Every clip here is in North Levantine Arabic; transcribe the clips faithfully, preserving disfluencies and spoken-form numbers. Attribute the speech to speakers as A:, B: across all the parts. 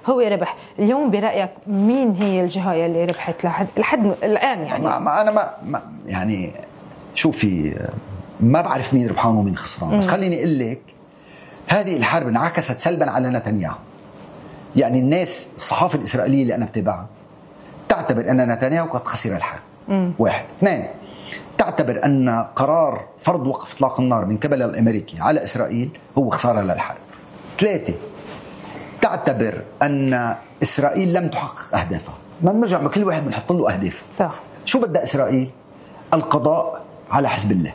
A: هو ربح. اليوم برأيك مين هي الجهة اللي ربحت لحد لحد الآن؟ يعني
B: ما, ما أنا ما, ما يعني شوفي ما بعرف مين ربحان ومين خسران، بس خليني أقول لك هذه الحرب انعكست سلبا على نتنياهو. يعني الناس الصحافة الإسرائيلية اللي أنا بتابعها تعتبر أن نتنياهو قد خسر الحرب. مم. واحد. اثنين، تعتبر أن قرار فرض وقف إطلاق النار من قبل الأمريكي على إسرائيل هو خسارة للحرب. ثلاثة، تعتبر أن إسرائيل لم تحقق أهدافها. ما بنرجع كل واحد بنحط له أهدافه.
A: صح.
B: شو بدأ إسرائيل؟ القضاء على حزب الله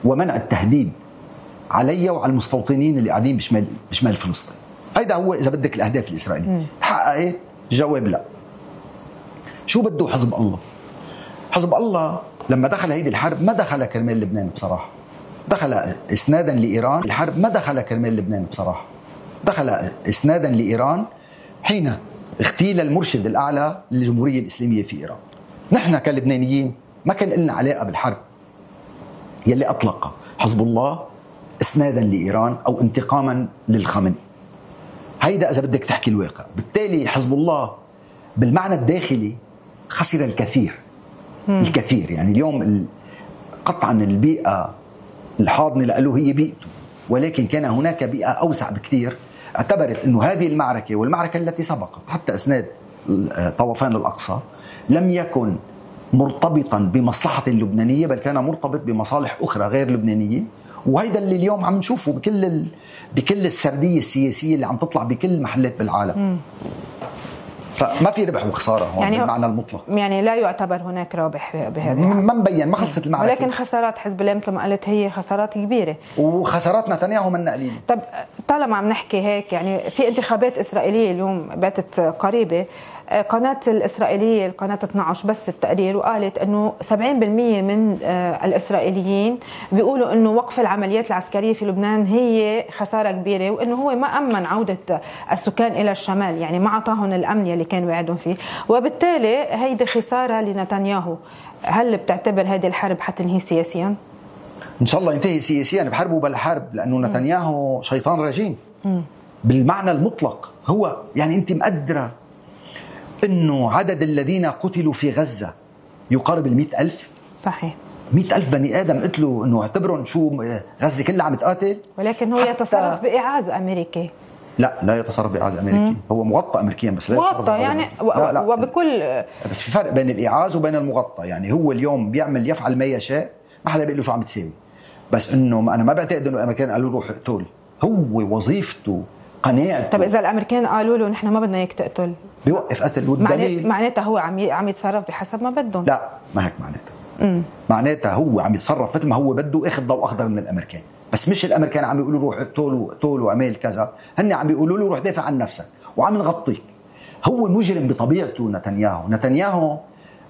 B: ومنع التهديد علي وعلى المستوطنين اللي قاعدين بشمال بشمال فلسطين. هيدا هو إذا بدك الأهداف الإسرائيلية. تحققت؟ جواب لا. شو بده حزب الله؟ حزب الله لما دخل هيدي الحرب ما دخل كرمال لبنان بصراحة، دخل إسنادا لإيران. الحرب ما دخل كرمال لبنان بصراحة، دخل إسنادا لإيران حين اغتيل المرشد الأعلى للجمهورية الإسلامية في إيران. نحن كلبنانيين ما كان لنا علاقة بالحرب يلي أطلق حزب الله إسنادا لإيران أو انتقاما للخامنئي. هيدا إذا بدك تحكي الواقع. بالتالي حزب الله بالمعنى الداخلي خسر الكثير. مم. الكثير. يعني اليوم قطعا البيئة الحاضنة له هي بيئته، ولكن كان هناك بيئة أوسع بكثير اعتبرت أنه هذه المعركة والمعركة التي سبقت حتى إسناد طوفان الأقصى لم يكن مرتبطا بمصلحة لبنانية، بل كان مرتبط بمصالح أخرى غير لبنانية. وهيدا اللي اليوم عم نشوفه بكل ال... بكل السردية السياسية اللي عم تطلع بكل المحلات بالعالم. مم. فما في ربح وخسارة هون يعني بالمعنى المطلق.
A: يعني لا يعتبر هناك رابح بهذه.
B: ما مبين، ما خلصت المعركة.
A: ولكن خسارات حزب الله مثل ما قلت هي خسارات كبيرة،
B: وخسارات نتنياهو منا قليلة.
A: طب طالما عم نحكي هيك، يعني في انتخابات إسرائيلية اليوم باتت قريبة، قناة الإسرائيلية القناة اثني عشر بس التقرير وقالت أنه سبعين بالمئة من الإسرائيليين بيقولوا أنه وقف العمليات العسكرية في لبنان هي خسارة كبيرة، وأنه هو ما أمن عودة السكان إلى الشمال، يعني ما عطاهم الأمن اللي كان وعدهم فيه، وبالتالي هيدي خسارة لنتنياهو. هل بتعتبر هذه الحرب حتنهي سياسيا؟
B: إن شاء الله ينتهي سياسيا بحرب بلا حرب، لأنه نتنياهو شيطان رجيم بالمعنى المطلق. هو يعني أنت مقدرة إنه عدد الذين قتلوا في غزة يقارب المئة ألف.
A: صحيح.
B: مئة ألف بني آدم قتلوا، إنه اعتبروا شو غزة كلها عم تقاتل.
A: ولكن هو يتصرف بإعاز أمريكي. لا
B: لا يتصرف بإعاز أمريكي. مم. هو مغطى أمريكيا بس لا
A: مغطى يعني و... لا لا. وبكل
B: بس في فرق بين الإعاز وبين المغطى. يعني هو اليوم بيعمل يفعل ما يشاء، ما حدا بيقول له شو عم تساوي. بس إنه أنا ما بعتقد إنه الأمريكان قالوا له روح اقتل. هو وظيفته قناعته.
A: طب إذا الأمريكان قالوا له نحن ما بدنا إياك تقتل،
B: بيوقف قتل. والدليل
A: معناتها هو عم عم يتصرف بحسب ما بدهم.
B: لا ما هيك معناتها. معناتها هو عم يتصرف مثل ما هو بده، اخذ ضوء اخضر من الامريكان. بس مش الامريكان عم يقولوا روح اقتلوا اقتلوا واعمل كذا، هن عم يقولوا له روح دافع عن نفسك وعم نغطيك. هو مجرم بطبيعته نتنياهو. نتنياهو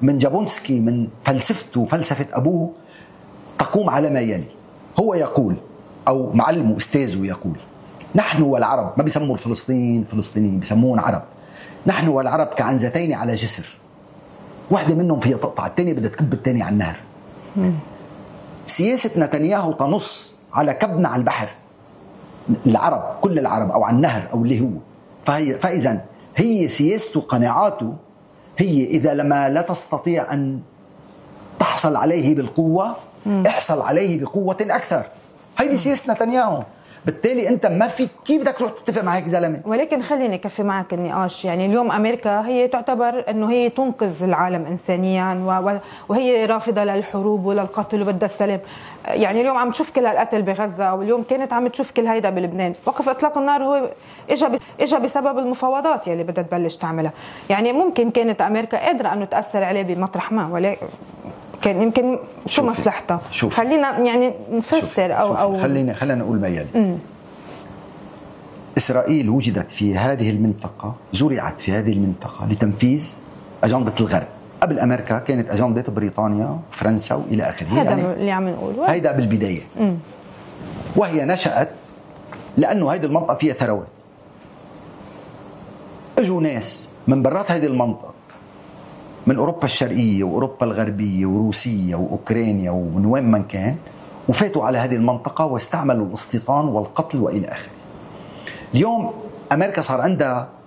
B: من جابونسكي من فلسفته فلسفه ابوه تقوم على ما يلي. هو يقول او معلمه استاذه يقول نحن والعرب، ما بيسموا الفلسطينيين فلسطينيين، بيسموهم عرب. نحن والعرب كعنزتين على جسر، واحدة منهم فيها تقطع، الثانية بدها تكب الثانية على النهر. مم. سياسة نتنياهو تنص على كبنا على البحر العرب، كل العرب أو على النهر أو اللي هو. فهي فإذا هي سياسته قناعاته هي إذا لما لا تستطيع أن تحصل عليه بالقوة، مم. احصل عليه بقوة أكثر. هيدي سياسة نتنياهو. بالتالي انت ما في كيف بدك تروح تتفق مع هيك زلمه.
A: ولكن خليني اكفي معك النقاش. يعني اليوم امريكا هي تعتبر انه هي تنقذ العالم انسانيا وهي رافضه للحروب وللقتل وبدها السلام. يعني اليوم عم تشوف كل هالقتل بغزه، واليوم كانت عم تشوف كل هيدا بلبنان. وقف اطلاق النار هو اجى اجى بسبب المفاوضات يلي بدها تبلش تعملها. يعني ممكن كانت امريكا قادره انه تاثر عليه بمطرح ما، ولكن كان يمكن شو مصلحتها. خلينا يعني نفسر شوفي. او شوفي. او
B: خلينا خلينا نقول ما يلي. م. إسرائيل وجدت في هذه المنطقة، زرعت في هذه المنطقة لتنفيذ أجندة الغرب. قبل أمريكا كانت أجندة بريطانيا وفرنسا وإلى آخره.
A: هذا يعني اللي عم نقوله.
B: هيدا بالبداية. م. وهي نشأت لأنه هذه المنطقة فيها ثروات. اجوا ناس من برات هذه المنطقة، من أوروبا الشرقية وأوروبا الغربية وروسيا وأوكرانيا ومن وين من كان، وفاتوا على هذه المنطقة واستعملوا الاستيطان والقتل وإلى آخره. اليوم امريكا صار عندها